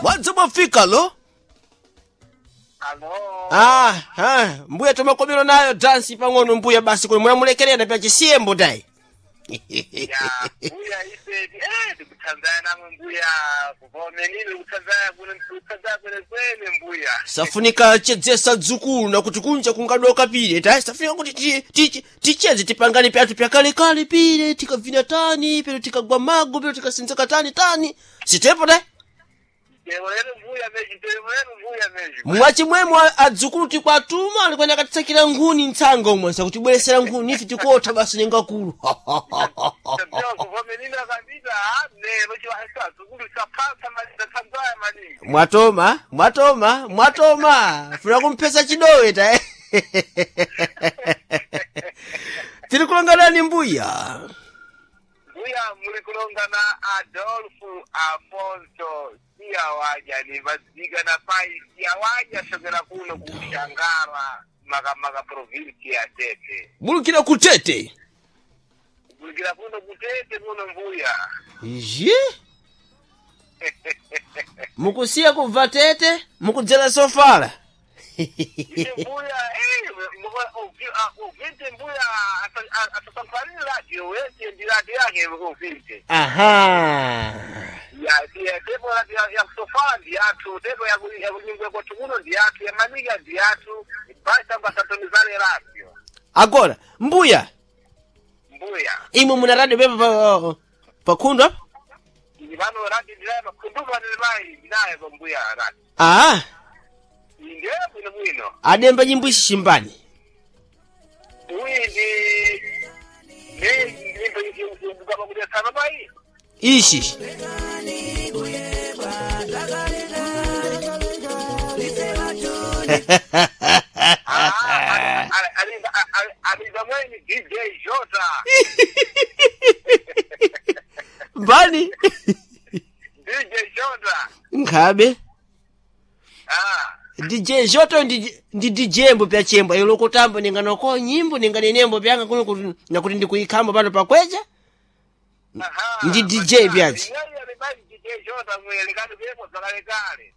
Mwadzi mwafika lo? Alo. Ah, ah, mbuya tomakomero nayo dansi pang'ono mbuya basi kuli munamulekerera pya chisiyembo tayi. Ya, mbuya ifedi ndikuthanzaya namwe mbuya kuvomenile kuthanzaya kuno ndikuthanzaya kwene kwene mbuya. Safunika chedzesa dzukulu nakuti kunja kungadoka pile tayi safunika kuti tichedze tipangane pyathu pyakalekale pile tikavina tani pelo tikagwa mago pelo tikasinzeka tani tani sitepo tayi. Tero lero mbuya meji, tero lero mbuya meji. Mwachimwemwe adzukulu tikwatuma alikwenda akatitsakira nkhuni mtsanga umwe sakutibweresera nkhuni ife tikotha basi nengakulu. Tabia kuvomenile kabisa lero chiwahesa dzukulu chaphansa maningi thanzaya maningi. Mwatoma, mwatoma, mwatoma. Funa kumphesa chidowe ta. Tiri kulonganani mbuya. Mbuya muli kulonga na Adolfo Afonso Siawaja ni vaziga na pai Siawaja shokera kuno kushangara makamaka provinsi ya Tete. Mulukira kutete. Kulikira kuno kutete kuno mbuya. Je? Mukusiya kubva tete, mukudzera sofala. Ine mbuya uvinte mbuya asasamfanire radio wese ndi radio yake uvinte. Aha. Ya ya tepo radio ya kusofala ndi yathu tepo ya kunyungwe kwathu kuno ndi yathu ya manika ndi yathu basi ambasatonizale radio. Agora, mbuya, Mbuya. imwe muna radio pepa pa pakhundu apa? Ili pano radio ndilaye makhundupa ndilimayi ndinaye pa mbuya radio. Ah, Ndiye bwino bwino. ademba nyimbo ishi chimbani. Uyi ndi ne nyimbo ikukaba kuti sana payi. Ishi. Aliza mweni DJ Jota. Mbani? DJ Jota. Nkhabe. Ah. DJ Joto ndi DJ mbo pya chembo ilo kutamba ninganoko nyimbo ninganenembo pyanga kuno kuti nakuti ndikuikhamba pano pakweja. Aha. Ndi DJ pyachi. Yeye alibali DJ Jota mwele kati kuyepo zakale kale.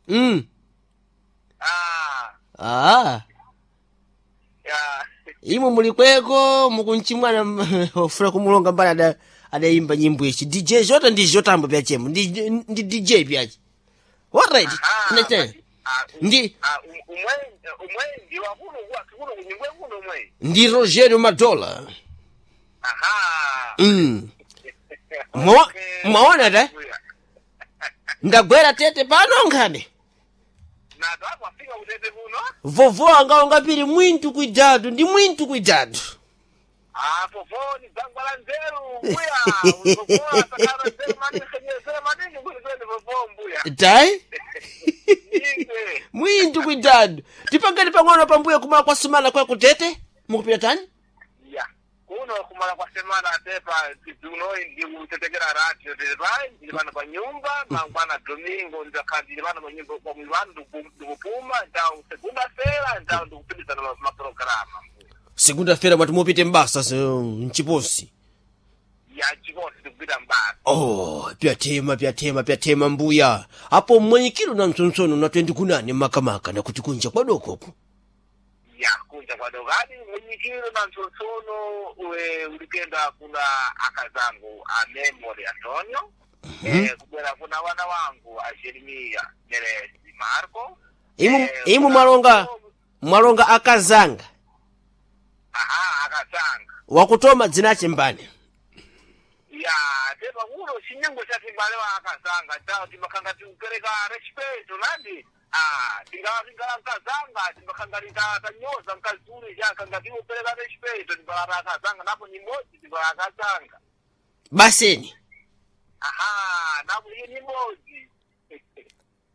Ah. Ah. Ya. Imwe mulikweko mukunchimwana ofuna kumulonga mbali ada adayimba nyimbo ichi. DJ Joto ndi Jotambo pya chembo ndi DJ pyachi. Alright. Aha. Tinachena. Ah, Ndi ah, umwe umwe ndi wakuno kwa kuno kunyingwe kuno umwe. ndi Rogerio Madola. Aha. Mwa mwaona ta? Ndagwera tete pano nkhabe. Na twafika kutete kuno. Vovo anga ungapiri mwintu kuidatu ndi mwintu kuidatu. Apo foni dzangwa la nzeru mbuya. Vovo sakara nzeru maningi nzeru maningi kuti twende vovo mbuya. Tai? Inde. Mwintu kuidatu. Tipangeni pang'ono pambuya kumala kwa sumana kwa kutete? Mukupita tani? Ya. Kuno kumala kwa semana tepa tiduno ndi kutetekera radio tepai ndili pano pa nyumba mangwana domingo ndakhala pano pa nyumba kwa mwanu ndikupuma ndau segunda fera ndau ndikupindizana maprograma. Segunda feira mwati mupite mbasa so, mchiposi. Ya chikosi ndikupita mbasa. Oh, pyatema pyatema pyatema mbuya. Apo mmwenyikiro na mtsontsonho na 20 kunani makamaka nakuti kunja kwadokoku. Ya kunja kwadokadi munyikiro na mtsotsono we ulikenda kuna akazangu a Memory Antonio. Kubwera kuna wana wangu a Jeremia Neresi Marco. Imu imu kuna- mwalonga mwalonga akazanga Aha, akazanga. wakutoma dzinache mbani. Ya tepa kuno chinyengo cha timbale wa akazanga tawo timakhanga tikupereka respeto nandi. Ah, tingawa tingala mkazanga timakhanga tinyoza mkazuri chakanga tikupereka respeto timbala akazanga napo nyimodzi timbala akazanga. Baseni. Aha, napo iye nyimodzi.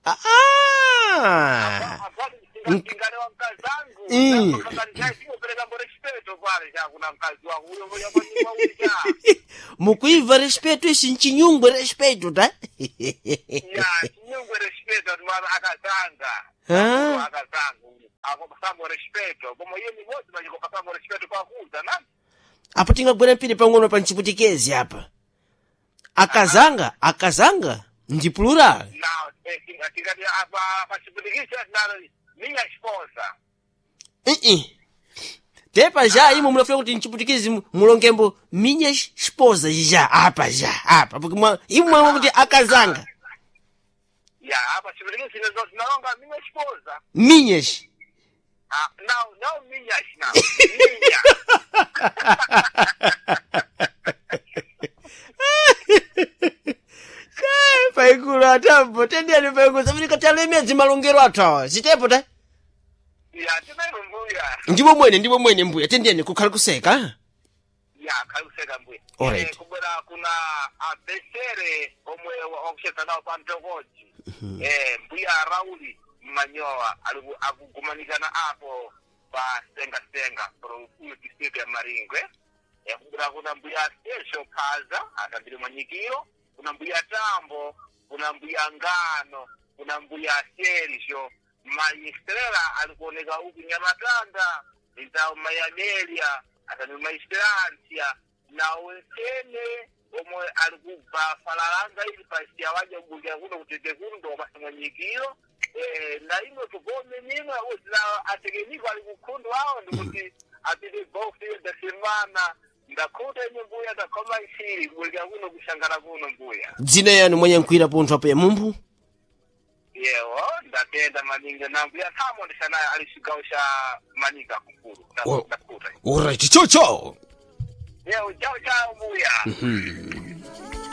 Ah. ah. Tingalewa mkazangu. Tikupereka mbo respeto kwale chakuna mkazi wangu uyo mboja kwa nyumba uja. Mukuiva respeto ishi nchinyungwe respeto ta. Ya, chinyungwe respeto timbala akazanga. Ah. Akazanga. Akopasamo respeto. Koma iye nyimodzi machikopasamo respeto kwakuza na. Apo tingagwera mpiri pang'ono pa nchiputikezi apa. Akazanga, akazanga ndi plural. Na Tingati apa pachipundikisa tinalo minha esposa. Ii. Tepa já imo munafika kuti mchiputikizi mulongembo minha esposa já apa já apa porque imo mwa kuti akazanga. Ya, apa chipundikisi tinalonga minha esposa. Minhas. Ah, não, não minhas, não. Minha. Paikulu atambo tendeni paikulu safunika talemedzi malongero athu awa zitepo ta. Ya, tinalo mbuya. Ndipo mwene ndipo mwene mbuya tendeni kukhale kuseka. Ya, khaluseka mbuya. Alright. Kubwera kuna abesere omwe wakucheza nawo pa mtokoji. Mbuya Rauli Manyowa akugumanikana apo pa Senga Senga pro district ya Maringwe. Kubwera kuna mbuya Sergio Phaza atambire mwanyikiro, kuna mbuya Tambo, kuna mbuya Ngano, kuna mbuya Sergio Mayistrela alikuoneka huku Nyamatanda, nzawo Mayamelia atani Mayisterantia na wetene omwe alikubva falalanga ili pasi awaja kubulira kuno kutete kuno ndokapasa mwanyikiro na ino tugome nimwe uzina atekeniko ali kukhundu awo ndikuti apite box da semana ndakhuta ine mbuya ndakhoma isiri kubulira kuno kushangala kuno mbuya. Dzina yanu mwanyankhwira pontho apo ya mumphu. Yewo ndatenda maningi na mbuya thamo ndisanayo ali cigawo ca maninga kukulu. Oh. Ndakhuta. Alright, chau chau. Yewo chao chao mbuya.